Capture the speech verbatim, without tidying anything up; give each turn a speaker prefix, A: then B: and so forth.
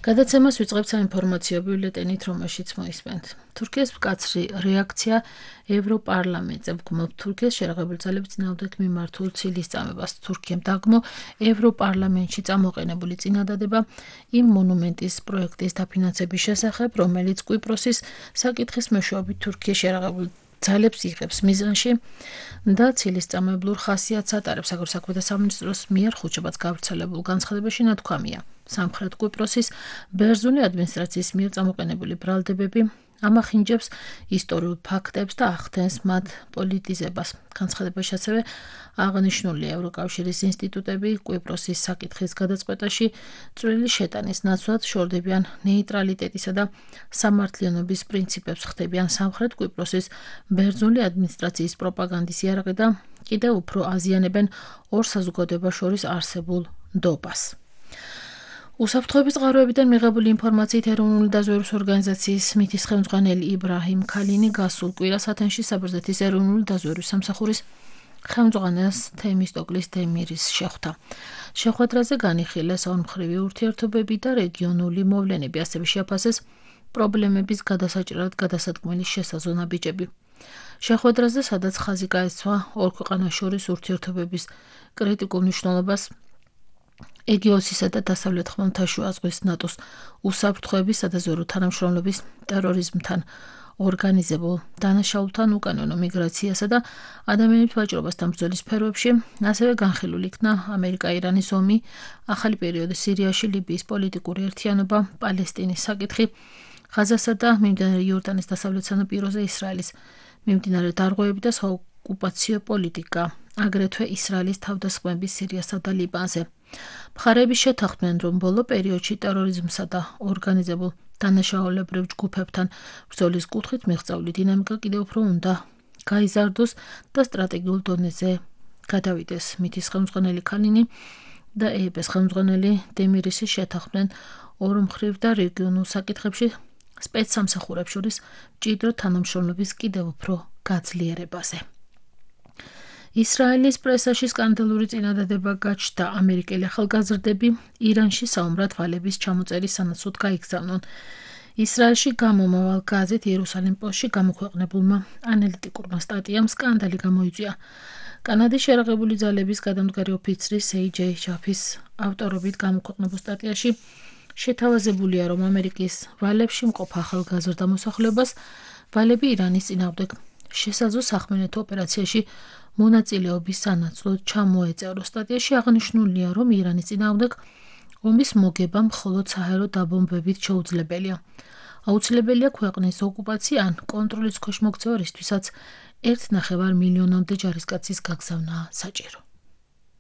A: გადაცემას ვიწყებთ საინფორმაციო ბიულეტენით, რომელშიც მოისმენთ. თურქეთის მკაცრი რეაქცია ევროპარლამენტზე ვგმობთ თურქეთის შეიარაღებული ძალების წინააღმდეგ მიმართულ ცილის წამებას. თურქიამ დაგმო ევროპარლამენტში წამოყენებული წინადადება იმ მონუმენტის პროექტის დაფინანსების შესახებ, რომელიც კვიპროსის საკითხის მეშვეობით თურქიის შეიარაღებული ძალებს იღებს მიზანში და ცილის წამოებლურ ხასიათს ატარებს. საგარეო საქმეთა სამინისტროს მიერ ხუთშაბათს გავრცელებულ განცხადებაში ნათქვამია. სამხრეთ კვიპროსის ბერძნული ადმინისტრაციის მიერ წამოყენებული ბრალდებები ამახინჯებს ისტორიულ ფაქტებს და ახდენს მათ პოლიტიზებას. განცხადებაში ასევე აღნიშნულია ევროკავშირის ინსტიტუტები კვიპროსის საკითხის გადაწყვეტაში წვრილი შეტანის ნაცვლად შორდებიან ნეიტრალიტეტისა და სამართლიანობის პრინციპებს, ხდებიან სამხრეთ კვიპროსის ბერძნული ადმინისტრაციის პროპაგანდის იარაღი და კიდევ უფრო აზიანებენ ორ საზოგადოებას შორის არსებულ ნდობას. უსაფრთხოების წყაროებიდან მიღებული ინფორმაციით ეროვნული დაზვერვის ორგანიზაციის მითის ხელმძღვანელი იბრაჰიმ ქალინი გასულ კვირას ათენში საბერძნეთის ეროვნული დაზვერვის სამსახურის ხელმძღვანელს თემისტოკლის დემირის შეხვდა. შეხვედრაზე განიხილეს ორმხრივი ურთიერთობები და რეგიონული მოვლენები, ასევე შეაფასეს პრობლემების გადასაჭრელად გადასადგმელი შესაზონა ბიჭები. შეხვედრაზე, სადაც ხაზი გაესვა ორ ქვეყანას შორის ურთიერთობების კრიტიკულ მნიშვნელობას, ეგეოსისა და დასავლეთ ხმელთაშუა ზღვის ნატოს უსაფრთხოების სადაზვერვო თანამშრომლობის ტერორიზმთან ორგანიზებულ დანაშაულთან, უკანონო მიგრაციასა და ადამიანის ვაჭრობასთან ბრძოლის სფეროებში, ასევე განხილული იქნა ამერიკა-ირანის ომი, ახალი პერიოდი სირიაში, ლიბიის პოლიტიკური ერთიანობა, პალესტინის საკითხი, ღაზასა და მიმდინარე იორდანის დასავლეთ სანაპიროზე ისრაელის მიმდინარე დარღვევები და საოკუპაციო პოლიტიკა, აგრეთვე ისრაელის თავდასხმები სირიასა და ლიბანზე. მხარეები შეთანხმდნენ, რომ ბოლო პერიოდში ტერორიზმსა და ორგანიზებულ დანაშაულებრივ ჯგუფებთან ბრძოლის კუთხით მიღწეული დინამიკა კიდევ უფრო უნდა გაიზარდოს და სტრატეგიულ დონეზე გადავიდეს. მითის ხელმძღვანელი ქალინი და ეეპ-ის ხელმძღვანელი დემირისი შეთანხმდნენ ორმხრივ და რეგიონულ საკითხებში სპეცსამსახურებს შორის მჭიდრო თანამშრომლობის კიდევ უფრო გაძლიერებაზე. ისრაელის პრესაში სკანდალური წინადადება გაჩნდა. ამერიკელი ახალგაზრდები ირანში საომრად ვალების ჩამოწერის სანაცვლოდ გაიგზავნონ. ისრაელში გამომავალ გაზეთ იერუსალიმ პოსტში გამოქვეყნებულმა ანალიტიკურმა სტატიამ სკანდალი გამოიწვია. კანადის შეიარაღებული ძალების გადამდგარი ოფიცრის ეი ჯეი ჯაფის ავტორობით გამოქვეყნებულ სტატიაში შეთავაზებულია, რომ ამერიკის ვალებში მყოფ ახალგაზრდა მოსახლეობას ვალები ირანის წინააღმდეგ შესაძლო სახმელეთო ოპერაციაში მონაწილეობის სანაცვლოდ ჩამოეწერო. სტატიაში აღნიშნულია, რომ ირანის წინააღმდეგ ომის მოგება მხოლოდ საჰაერო დაბომბვებით შეუძლებელია. აუცილებელია ქვეყნის ოკუპაცია ან კონტროლის ქვეშ მოქცევა, რისთვისაც ერთ ნახევარ მილიონამდე ჯარისკაცის გაგზავნა საჭირო.